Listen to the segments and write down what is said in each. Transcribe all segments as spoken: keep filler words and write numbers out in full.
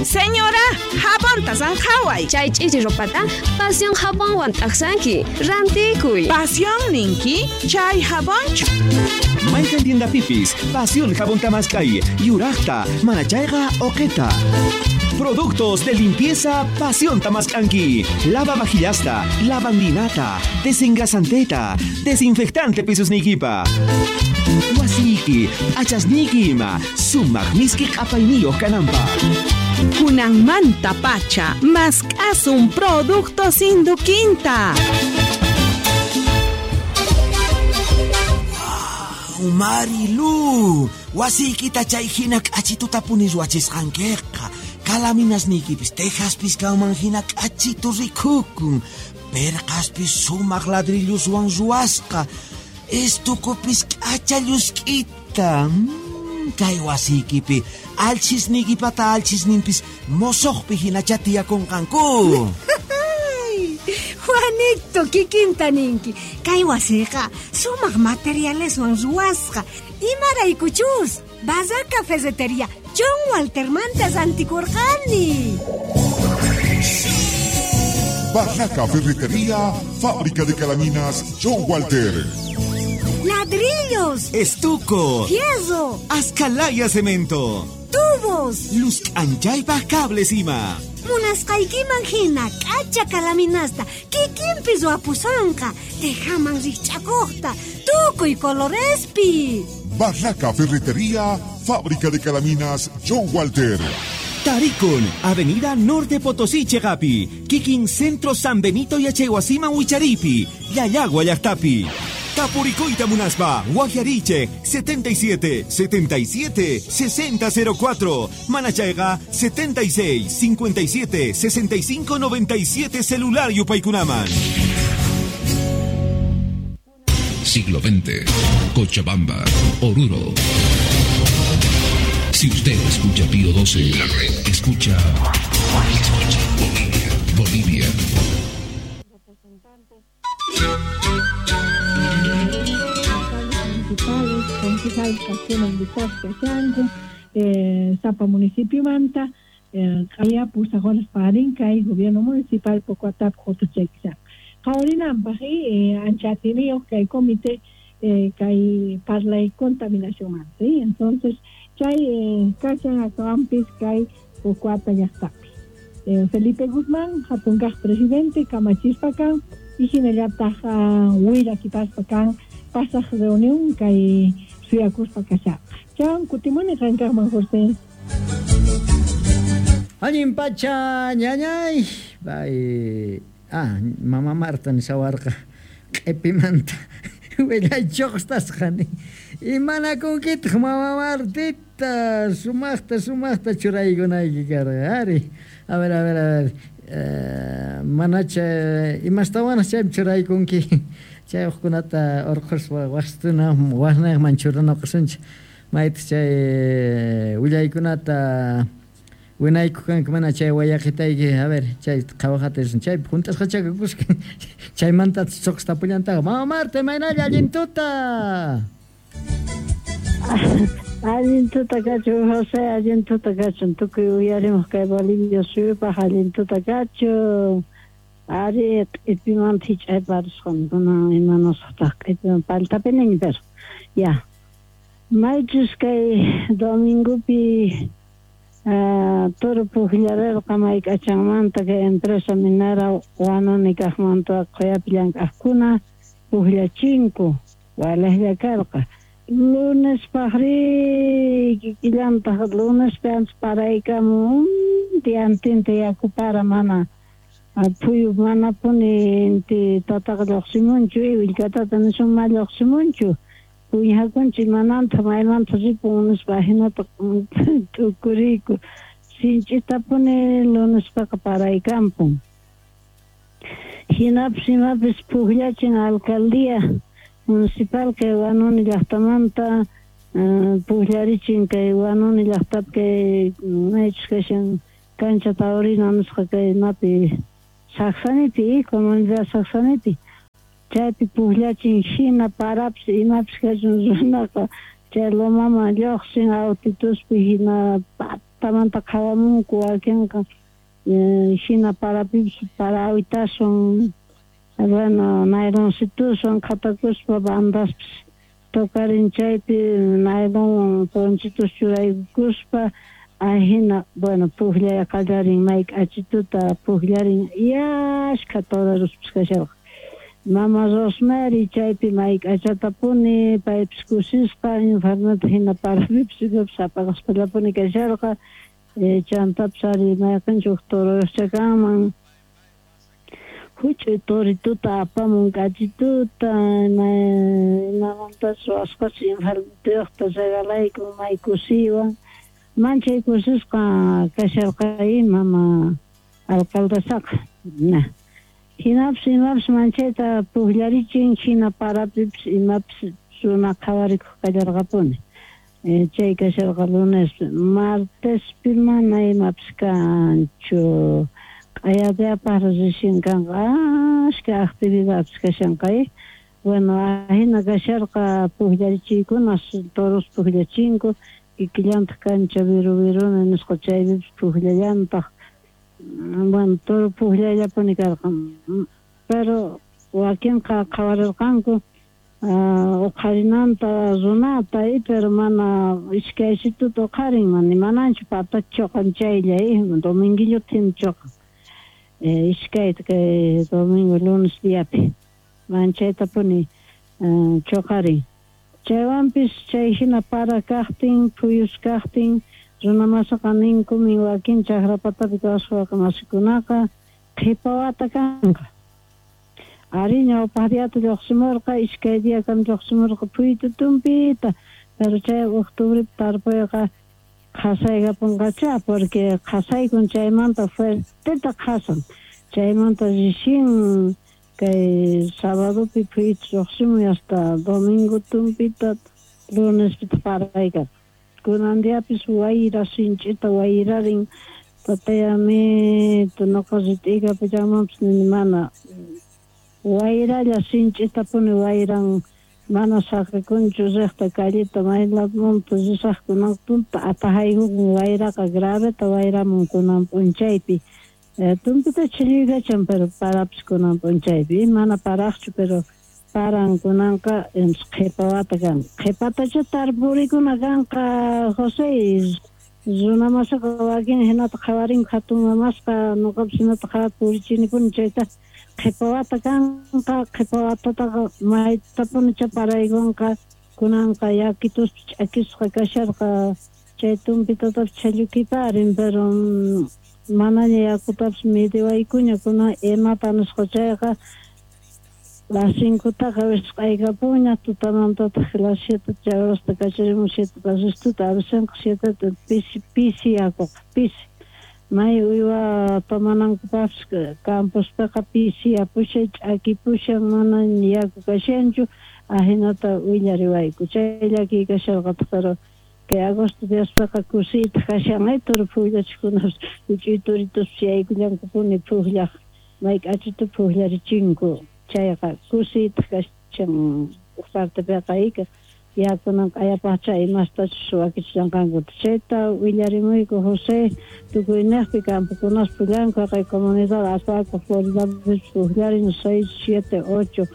Señora, jabonta zanjaway. Chay ch'ichi ropata Pasión jabonwan t'aqsanki. Rantikuy. Pasión ninki, chay jabonchu. Mayqan tiendapipis, Pasión jabón tamaskay, yuraqta, manachayqa oqeta. Productos de limpieza Pasión Tamaskanki. Lava vajillasta, lavandinata, desengrasanteta, desinfectante pisos nikipa. Wasiki, achasniki ima, sumaq miski q'apayniyuq kananpaq. Kunanmanta pacha, mask'asun productos Induquinta. Wow, Marilu, wasiykita chay hina k'achituta puni ruwachisqankiqa. Kalaminasniykipis tejaspis kanman hina k'achitu rikukun. Perqaspis sumaq ladrilluswan ruwasqa. Estukupis k'acha llusk'ita. Mm, kay wasiykipi alchisniykipata alchisninpis mosoqpi hinacha tiyakunqanku. Juanito, kikinta ninki. Kay wasiqa sumaq materialeswan ruwasqa. Imaraykuchus, Barraca Ferretería John Waltermanta rantikurqani. Barraca Ferretería, fábrica de calaminas John Walter. Ladrillos, Estuco, fierro, Ascalaya cemento, tubos, luz anchaypaj cables ima. Munasqaykiman hina k'acha kalaminasta kikinpi ruwapusanqa, tejaman rikch'akuqta, tukuy colorespi. Barraca Ferretería, fábrica de calaminas John Walter. Tarikun, Avenida Norte Potosí Chegapi, Kikin Centro San Benito Yachaywasiman Wicharipi, Llallagua llaqtapi. Tapurikuyta munaspa, Guajariche, setenta y siete, setenta y siete, sesenta cero cuatro, Manachayga, setenta y seis, cincuenta y siete, sesenta y cinco, noventa y siete, celular Yupaykunaman. Siglo veinte, Cochabamba, Oruro. Si usted escucha Pío doce, la red escucha, escucha Bolivia, Bolivia. Municipales, concejales kajkuna invitasqa kashanku, eh, sapa municipio manta, eh, qaya pusaq horas parin kay gobierno municipal poco atap hutuchaykishan. Qhawarinanpaq, eh, ancha atiyniyuq kay comité, eh, kay parlay contaminación manta, ¿sí? Entonces, chay, eh, kashan acabampis kay Pocoata llaqtapi. Eh, Felipe Guzmán, hatunkaq presidente, kamachispa kan, y hinallataq, ah, willakipaspa kan, pasaq reunión kay suyakuspa kashaqa. Chan kutimuni qankaqman, José. Allin pacha, ñañay. Bay. Ah, mama Marta nishawarqa. Q'ipimanta. Willay chuqstasqani. Imanakunkitaq mama Martita? Sumaqta, sumaqta churaykunayki karqa. Ari. A ver, a ver, a ver. Eh, manacha imastawanaq chaypi churaykunki. Chay uqkunata urquspa waqtuna wasnayman churanakusunchik. Maytaq chay willaykunata winayku kanku mana chay wayaqitayki, a ver, chay qhawaqatisun, chaypi junt'asqacha kakusqa. Chaymanta chuqstapullantaqa. Mama Marta, imaynalla allin tuta. Allin tuta kachun, José, allin tuta kachun. Tukuy uyarimuq kay Bolivia suyupaq allin tuta kachun. Ari, q'ipimanta hich'ayparisqan, kunan imanasqataq q'ipiman paltapiniñ, pero ya. Maychus kay domingopi, ah, toro pujllarerqa mayk'achanmanta kay empresa minera Huanuni kaqmanta qhuyapi llank'aqkuna pujllachinku, walejlla karqa. Lunes paqri kikillantaq lunespi ancha paraykamun, diantinta yaku para mana phuyu manapuni inti tataqa lluqsimunchu, willkatata nisun ma lluqsimunchu. Puñakunchik mananta maymanta ripun nispa hinata t'ukuriyku. Sinch'itapuni lunespaqa paraykampun. Hinapis imapis pujllachin alcaldía municipal kay Huanuni llaqtamanta, eh, pujllarichin kay Huanuni llaqtapi kay maychus kashan cancha taurina nisqa kay imapi Sacsanipi, comunidad Sacsanipi. Chaypi pujllachin hina parapis imapis kachun runaqa chay lomaman lluqsin autituspi hina llaqtamanta qhawamunku wakinqa hina parapipis parawitaswan bueno nayloncituswan qhatakuspa bandaspis tocarin chaypi naylon ponchitos churaykuspa ahina bueno pujllay qallarin may k'achituta pujllarin yashkha torerospis kasharqa Mama Rosemary chaypi may k'achatapuni paypis kusisqa enfermeta hina parapipis imapis apaqaspallapuni kasharqa chantapis ari mayqinchik huk toroyuqcha kanman huch'uy torituta apamun k'achituta imamantas ruwasqachus enfermetuyuqta regalaykun may kusiywan manchay kusisqa kasharqa mama alcaldesaqa hinapis imapis manchayta pujllarichin hina parapipis imapis runa qhawarikuq kallarqapuni chay kasharqa lunespi martespi mana imapis kanchu q'ayatiyapaq recién kanqa ashka actividades kashanqa bueno ahina kasharqa pujllarichiykuna toros pujllachinku kikillantaq kancha viru viruna nisqa chaypipis pujllallantaq bueno toro pujllallapuni karqa pero wakinqa qhawarirqanku uqharinanta runata pero mana iskaysituta uqharin mana mananchu patacha choqan chaylla dominguillota hina choqan iskayta kay domingo lunes diapi manchaytapuni choqarin chaywanpis chay hina para kaqtin phuyus kaqtin runamasaqa ninkumin wakin chakrapatapi kawsaq masikunaqa qhipa wata kanqa ari ñawpaq diata lluqsimurqa iskay diakama lluqsimurqa phuytu tumpita pero chay octubrepi tarpuyqa qhasaykapunqacha porque qhasaykun chaymanta fuerteta qhasan chaymanta recién kay sabadopi phuytu lluqsimun hasta domingo tumpita lunespita paraykan kunan diapis wayra sinch'ita wayrarin tatayamito nuqa rit'ikapullamanpis nini mana wayralla sinch'itapuni wayran mana saqikunchu riqta calleta maylamunta risaqkunan tunta atajaykukun wayraqa graveta wayramun kunan p'unchaypi tumpita chilluykachan pero parapis kunan p'unchaypi mana paraqchu pero paran kunanqa qhipa wata kanqa qhipatacha tarpurikuna kanqa José runamasaqa wakin hinata qhawarinku hatun mamasqa nuqapis hinata qhawata purichinipuni chayta qhipa wata kanqa qhipa watataqa maytapunicha paraykunqa kunanqa yakituspi ch'akisqa kasharqa chay tumpitatapis chhallukiparin pero manaña yakutapis midiwaykuña kunan imata nisqa chayqa las cincutaqa wisq'aykapuña tutamantataq las siete chay horasta kacharimun siete pasituta a veces siete pisi pisi yakuqa pisi may uywa tomanankupaqpis campospiqa pisiyapushan ch'akipushan mana yaku kashanchu ahinata willariwayku chay llakiy kasharqataq pero kay agosto diaspiqa kusiytaq kashan toro pujllachikunapas huch'uy torituspas yaykullankupuni pujllaq may k'achitu pujllarichinku chayqa kusiytaq kashan huk partepiqa ika yakunan q'ayapaqcha imastachus wakichillanqankuta chayta willarimuyku José tukuyniqpi campokunas pullanku haqay comunidad Apaco Floridapis pujllarin seis siete ocho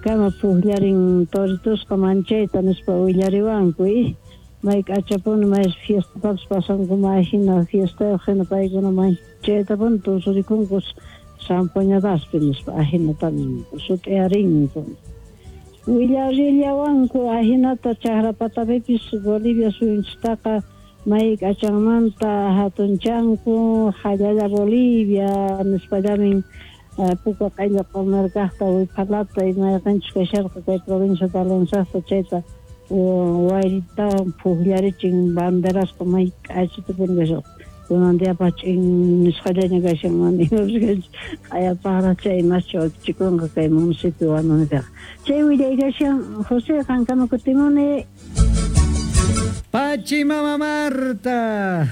kama pujllarin toritusqa manchayta nispa willariwanku may k'achapuni may fiestapapis pasanku may hina fiestayuq hina paykuna manchaytapuni tusurikunku zampoñadaspi nispa ahinata sut'iyarinku willarillawanku ahinata chakrapatapipis Bolivia suyunchistaqa may k'achanmanta hatunchanku hallalla Bolivia nispallamin puka q'illa q'umirkaqta wiphalata imayqinchus kasharqa kay provincia de Alonsaqta chayta wayritawan pujllarichin banderasqa may k'achitupuni kasharqa kunan diapaq ch'in nisqallaña kashan mana imapis q'ayapaqraq chay imascha wakichikunqa kay municipio Huanunipiqa chay willay kashan José qankama kutimuni Pachi mama Marta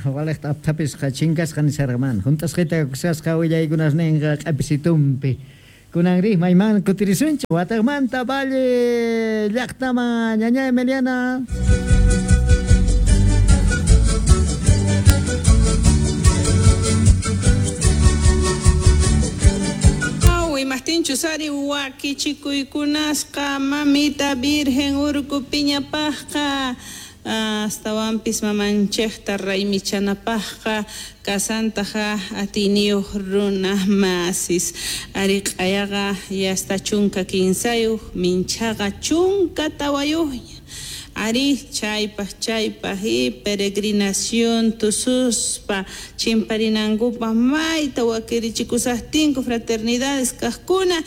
waliqta apthapisqa chinkasqa nisarqaman hunt'asqita kusasqa willaykunas ninqa q'apisitumpi kunanri mayman kutirisunchik wataqmanta Valle llaqtaman ñaña Emiliana. Muchos ari wakichikuykunasqa mamita Virgen Urkupiñapajqa astawanpis mamanchejta raymichanapajqa kasantaja atiniyuq runa masis ari q'ayaqa yasta chunka kinsayuq minchaqa chunka tawayuqña ari chaypaj chaypaj y peregrinación tususpa chimparinankupaj mayta wakirichikusajtinku fraternidades kajkuna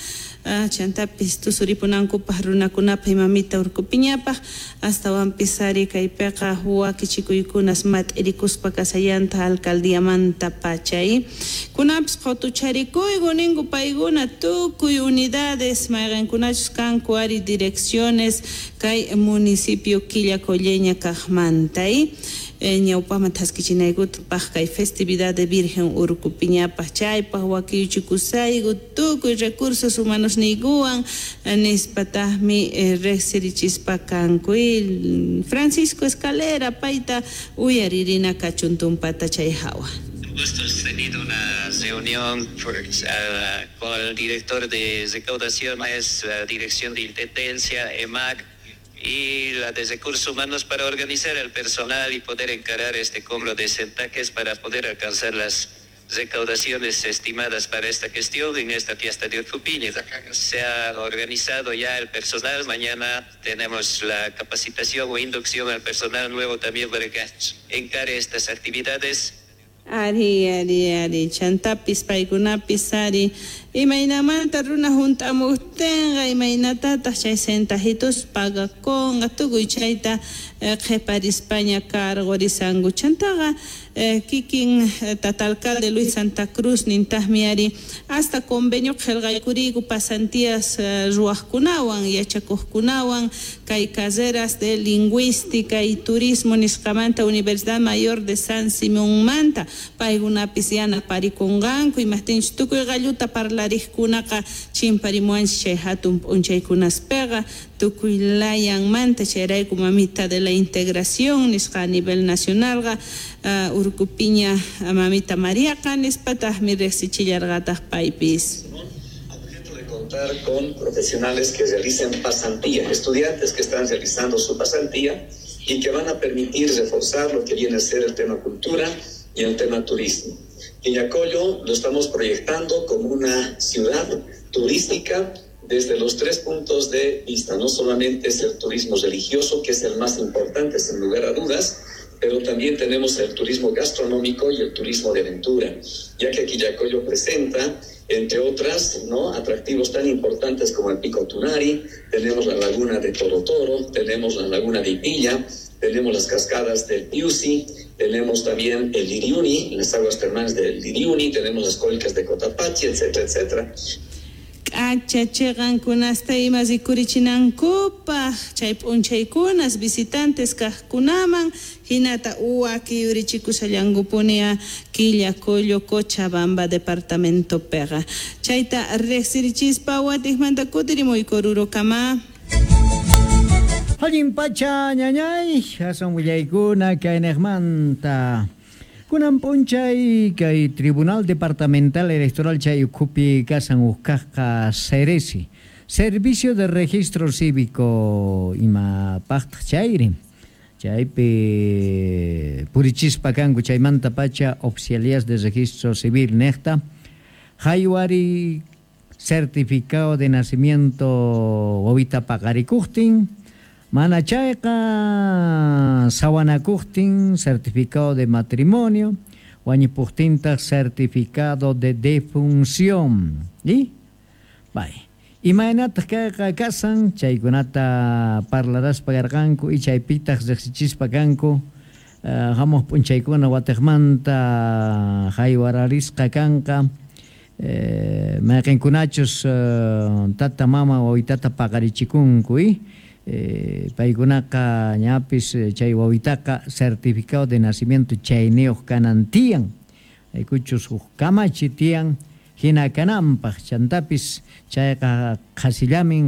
chantapis tusuripunankupaj runakunapaj mamita urkupiñapaj astawanpis ari kaypiqa wakichikuykunas mat'irikuspa kasallanta alcaldiamanta pachay kunapis qhutucharikuyku ninku paykuna tukuy unidades mayqinkunachus kanku ari direcciones kay municipio Quillacolleña kajmanta ñawpajman thaskichinaykutapaj kay festividad de Virgen Urkupiñapaj chaypaj wakiyuchikusayku tukuy recursos humanos niykuwan nispatajmi riqsirichispa kanku Francisco Escalera payta uyaririna kachun tumpata chay hawa. Gusto hemos tenido una reunión por, uh, con el director de recaudación, es la dirección de intendencia, E M A C, y la de recursos humanos para organizar al personal y poder encarar este cobro de centajes para poder alcanzar las recaudaciones estimadas para esta gestión en esta fiesta de Urcupiña. Se ha organizado ya el personal, mañana tenemos la capacitación o inducción al personal nuevo también para que encare estas actividades. Ari, ari, ari, chantapis, paykunapis, ari, imaynamanta runa junt'amuktinqa, imaynatataq chay centajitos pagakunqa, tukuy chayta qhiparispaña cargorisanku. Chantaqa kikin tata alcalde Luis Santa Cruz nintaqmi ari hasta convenio qillqaykuriyku pasantías ruwaqkunawan, yachakuqkunawan, kay carreras de lingüística y turismo nisqamanta Universidad Mayor de San Simonmanta paykunapis yanaparikunqanku imajtinchus tukuy qalluta parlariqkunaqa chimparimuwanchik chay hatun p'unchaykunaspiqa tukuy layanmanta chayrayku mamita de la integración nisqa a nivel nacionalqa uh, Urkupiña mamita Mariaqa nispataqmi riqsichillarqataq paypis. Contar con profesionales que realicen pasantía, estudiantes que están realizando su pasantía y que van a permitir reforzar lo que viene a ser el tema cultura y el tema turismo. Quillacollo lo estamos proyectando como una ciudad turística desde los tres puntos de vista. No solamente es el turismo religioso, que es el más importante, sin lugar a dudas, pero también tenemos el turismo gastronómico y el turismo de aventura, ya que Quillacollo presenta, entre otras, ¿no?, atractivos tan importantes como el Pico Tunari, tenemos la laguna de Toro Toro, tenemos la laguna de Ipilla, tenemos las cascadas del Piusi, tenemos también el Liriuni, las aguas termales del Liriuni, tenemos las cólicas de Cotapachi, etcétera, etcétera. K'acha chiqankunasta ima rikurichinankupak chay p'unchaykunas visitantes kaqkunaman hinata wakiyurichikushallankupuni Quillacollo Cochabamba departamentopiqa chayta riqsirichispa watiqmanta kutirimuyku Orurokama. Allin pacha ñañay hasan willaykuna kaynejmanta kunan p'unchay kay Tribunal Departamental Electoral chay ukhupi kasan uqkaqqa Ceresi, Servicio de Registro Cívico imapaqtaq chayri chaypi purichispa kanku chaymanta pacha oficialías de registro civil nejta haywari certificado de nacimiento wawita paqarikuqtin mana chayqa sawanakuqtin certificado de matrimonio wañupuqtintaq certificado de defunción y bay imaynataq kayqa kasan chaykunata parlaraspa karqanku y chaypitaq riqsichispa kanku uh, hamuq p'unchaykuna watiqmanta haywararisqa kanqa eh, mayqinkunachus uh, tata mama wawitata paqarichikunku y Eh, paykunaqa ñapis chay wawitaqa certificado de nacimiento chayniyuq kanan tiyan aykuchus huk kamachi tiyan hina kananpaq chantapis chayqa qhasillamin.